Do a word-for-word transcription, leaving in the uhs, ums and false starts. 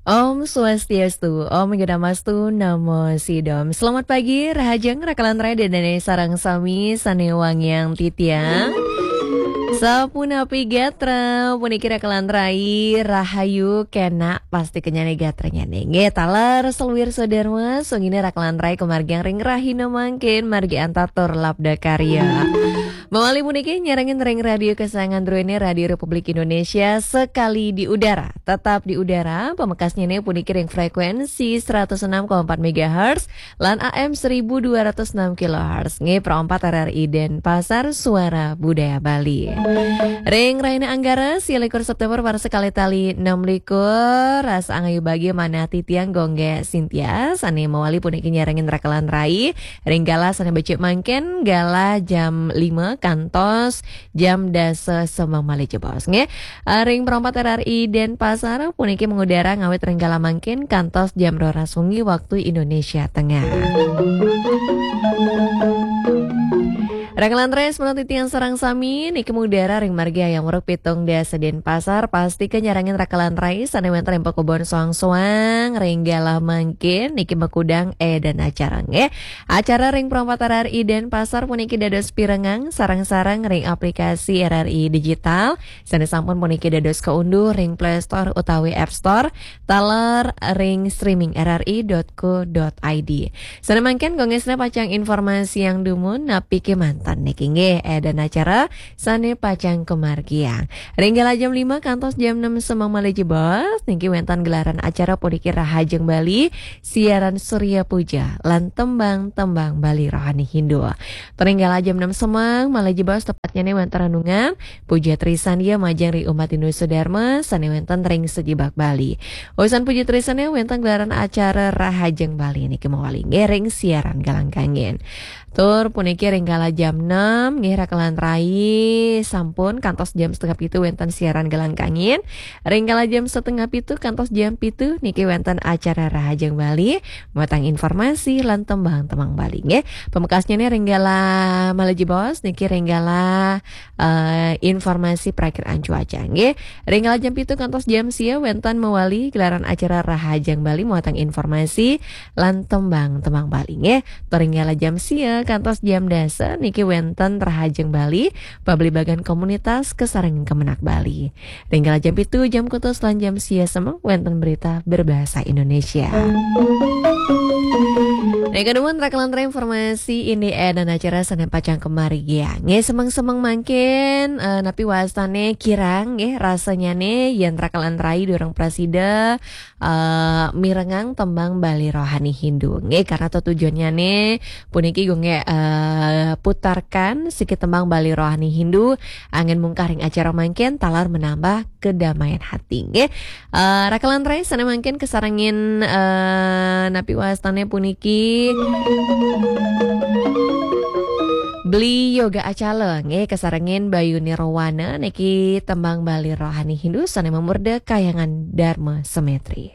Om Swastiastu, Om Gunamastu, Namo Sidom. Selamat pagi, rahajeng rakalan rai dane sareng sami sane wangiang titiang. Sapunapi gatra, puniki rakalan rai, rahayu, kenak, pasti kenyane gatranyane. Nggih, taler seluir sodarma, sungine rakalan rai kemargiang ring rahina mangkin, margi antatur labda karya. Mawali puniki nyarengin ring radio kesayangan druene, Radio Republik Indonesia, sekali di udara. Tetap di udara, pamekasnyane puniki ring frekuensi seratus enam koma empat megahertz lan A M seribu dua ratus enam kilohertz. Nggih, Pro empat R R I Denpasar, Suara Budaya Bali. Ring rahina Anggara, sia likur September, warsa kalih tali enam likur, rasa angayu bagia manah titiang Gongge Sintia, sane mawali puniki nyarengin rakalan rai, ring galah sane becik mangkin, galah jam lima kantos jam dasa semeng malih jebos, nggih. Eh, ring Pro empat R R I Denpasar puniki mengudara ngawit ring galah mangkin kantos jam roras wengi waktu Indonesia Tengah. Rakalan rai, semeton titiang sareng sami niki mengudara ring margi Hayam Wuruk pitung dasa Denpasar, pasti kenyarengin rakalan rai sane wenten ring pakubon soang-soang ring galah mangkin niki makudang edan acara, nggih. Acara ring Pro empat R R I Denpasar puniki dados pirengang sareng-sareng ring aplikasi R R I Digital, sane sampun puniki dados kaunduh ring Play Store utawi App Store, taler ring streaming R R I dot co dot I D. Sane mangkin, Gongge Sintia pacang informasiang dumun napi kemanten niki, nggih, edan acara sane pacang kamargiang. Ring galah jam lima kantos jam enam semeng malih jebos, niki wenten gelaran acara puniki Rahajeng Bali, siaran Surya Puja lan tembang-tembang Bali rohani Hindu. Ring galah jam enam semeng malih jebos, tepatnyane wenten renungan, puja trisandia majeng ring umat Hindu sedharma sane wenten ring sajebag Bali. Usan puja trisandia wenten gelaran acara Rahajeng Bali niki mawali, nggih, ring siaran galah kangin. Tur puniki ring galah jam enam, nggih, rakalan rai, sampun kantos jam setengah pitu wenten siaran galah kangin. Ring galah jam setengah pitu kantos jam pitu niki wenten acara Rahajeng Bali, mawetang informasi lan tembang-tembang Bali, nggih. Pamekasnyane ring galah malih jebos niki ring galah, eh, informasi prakiraan cuaca, nggih. Ring galah jam pitu kantos jam sia wenten mawali gelaran acara Rahajeng Bali, mawetang informasi lan tembang-tembang Bali, nggih. Tur ring galah jam sia kantos jam dasa niki wenten Rahajeng Bali, pabligbagan komunitas kasarengin Kemenag Bali. Ring galah jam pitu, jam kutus lan jam sia semeng wenten berita berbahasa Indonesia. Nika dumun rakalan rai, informasi indik edan acara sane pacang kamargiang. Nggih, semeng-semeng mangkin, eh, napi wastane kirang, nggih, rasanyane yen rakalan rai durung prasida, eh, mirengang tembang Bali rohani Hindu, nggih, karena tetujonnyane puniki Gongge, eh, putarkan siki tembang Bali rohani Hindu, anggen mungkah ring acara mangkin taler menambah kedamaian hati, nggih. Eh, rakalan rai, sane mangkin kasarengin, eh, napi wastane puniki Beli Yoga Acala, nggih, kasarengin Bayu Nirwana niki tembang Bali rohani Hindu sane mamurda Kahyangan Dharma Semetri.